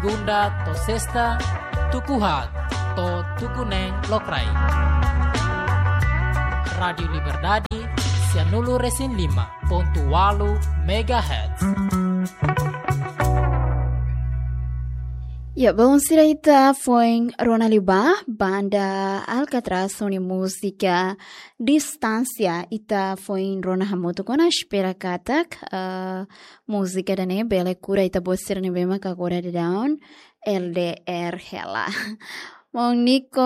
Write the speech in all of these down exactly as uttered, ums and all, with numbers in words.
Segunda to'o Sesta, tuku haat to'o tuku neen lokraik. Rádiu Liberdade, sianulu-resin-lima pontu ualu megahertz. Ya, belun sira, ita foin rona liubá, banda Alcatraz ho nia múzika Distánsia, ita foin rona hamutuk ona. Espera katak, eh, múzika ida-ne'e bele kura ita-boot sira ne'ebé mak agora daudaun L D R hela. Maun Nico,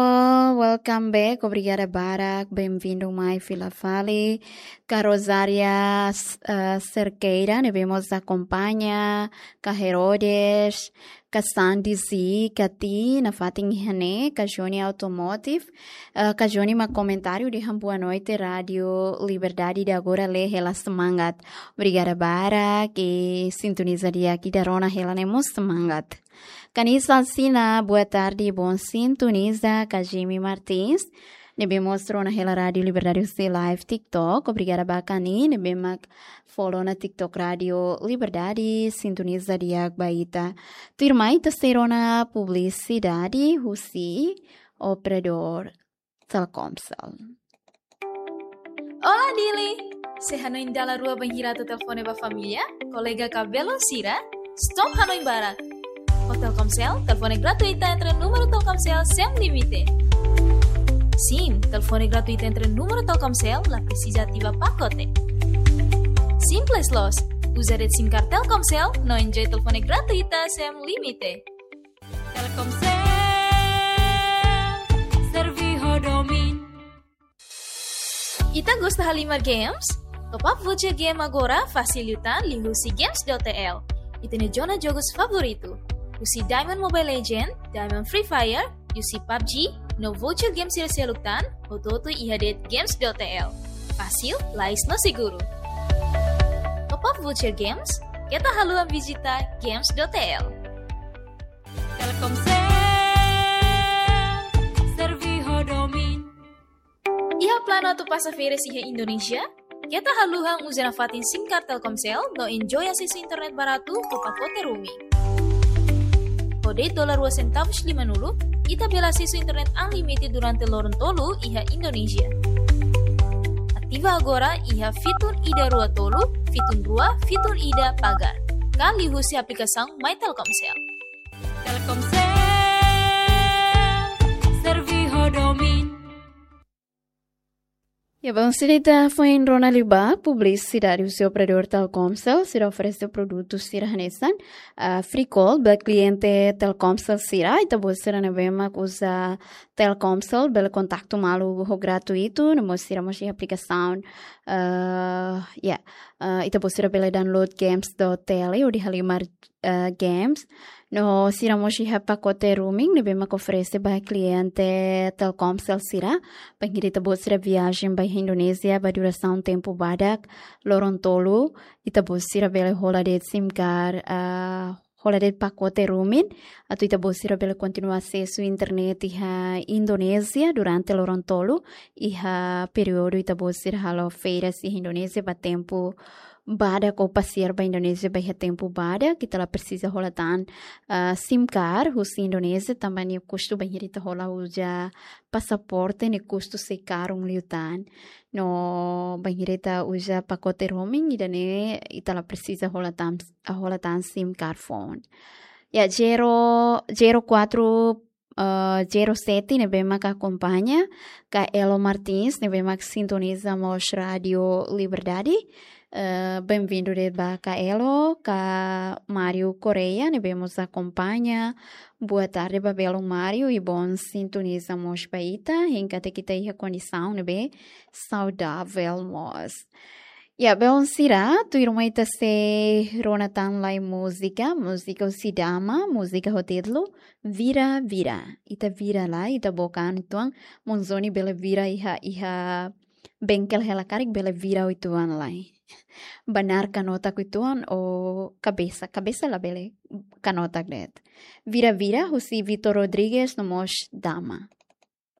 welcome back. Obrigada barak. Bem-vindu mai fila fali. Ka Rosária, eh, Cerqueira, ne'ebé mós akompaña. Ka Herodes, ka Sandy Z, ka Ti, nafatin iha ne'e, ka Johnny Automotive, eh, ka Johnny mak komentáriu dehan boa noite, Rádiu Liberdade ida agora lee hela semangat. Obrigada barak, i sintoniza di'ak ida rona hela ne'e mós semangat. Ka Nisa Sina, boa tarde, bom sintonizar, ka Jimmy Martins, ne'ebé mós rona hela Rádiu Liberdade husi live TikTok. Obrigada ba Kani, ne'ebé mak follow ona TikTok Rádiu Liberdade, sintoniza di'ak ba ita. Tuirmai ita sei rona publisidade husi operadór Telkomsel. Olá, Dili! Sei hanoin dala rua bainhira atu telefone ba família, kolega ka belun sira? Stop hanoin barak! Ho Telkomsel, telefone gratuita entre númeru Telkomsel sem limite. Sim, telefone gratuita entre númeru Telkomsel, la presiza ativa pakote. Simples loos, uza de'it SIM card Telkomsel, no enjoy telefone gratuita sem limite. Telkomsel, serve ho domin. Ita gosta halimar games? Top up voucher game agora fasil liután liuhusi games dot T L. Ita-nia zona jogus favoritu. Husi Diamond Mobile Legend, Diamond Free Fire, husi PUBG, no voucher game sira seluk tan, hotu-hotu iha de'it games dot T L. Fasil, lais no seguru. Top up voucher games, keta haluha vizita games dot T L. Telkomsel, serve ho domin. Iha planu atu pasa férias iha Indonézia? Keta haluha uza nafatin SIM card Telkomsel no enjoy asesu internet baratu ho pakote roaming. Ho de'it dolar rua sentavus limanulu, ita bele asesu internet unlimited durante loron tolu iha Indonézia. Ativa agora iha fitun ida rua tolu, fitun rua, fitun ida pagar. Ka liuhusi aplikasaun My Telkomsel. Telkomsel, serve ho domin. Ya, belun sira, ita foin rona liubá publisidade husi operadór Telkomsel, sira oferese produtu sira hanesan, ah, free call ba kliente Telkomsel sira, ita-boot sira ne'ebé mak uza Telkomsel, bele kontaktu malu ho gratuitu, no mós sira mós iha aplikasaun, ah, ya, ah, ita-boot sira bele download games dot T L hodi halimar, ah, games. No sira mós iha pakote roaming ne'ebé mak oferese ba kliente Telkomsel sira. Bainhira ita-boot sira viajen ba iha Indonézia ba durasaun tempu badak, loron tolu, ita-boot sira bele hola de'it SIM card, ah, hola de'it pakote roaming, atu ita-boot sira bele kontinua asesu internet iha Indonézia durante loron tolu, iha períodu ita-boot sira halo férias iha Indonézia ba tempu badak ou pasiar ba Indonézia ba iha tempu badak, ita la presiza hola tan, ah, SIM card husi Indonézia, tanba nia kustu bainhira ita hola uza pasaporte, nia kustu sei karun liután. No bainhira ita uza pakote roaming ida-ne'e, ita la presiza hola tan, hola tan SIM card foun. Ya, zero, zero quatro, eh, zero sete ne'ebé mak akompaña, ka Elo Martins ne'ebé mak sintoniza mós Rádiu Liberdade. Eh, bem-vindu de'it ba ka Elo, ka Mário Correia ne'ebé mós akompaña. Boa tarde ba belun Mário, i bom sintoniza mós ba ita, hein katak ita iha kondisaun ne'ebé saudavel mós. Ya, belun sira, tuirmai ita sei rona tan lai múzika, múzika husi Dama, múzika ho títulu Vira Vira. Ita vira lai, ita book an uitoan, Monzoni bele vira iha, iha bengkel hela karik bele vira uitoan lai. Banar kanotak uitoan ou kabesa, kabesa labele kanotak de'it. Vira Vira, husi Vitor Rodrigues no mós Dama.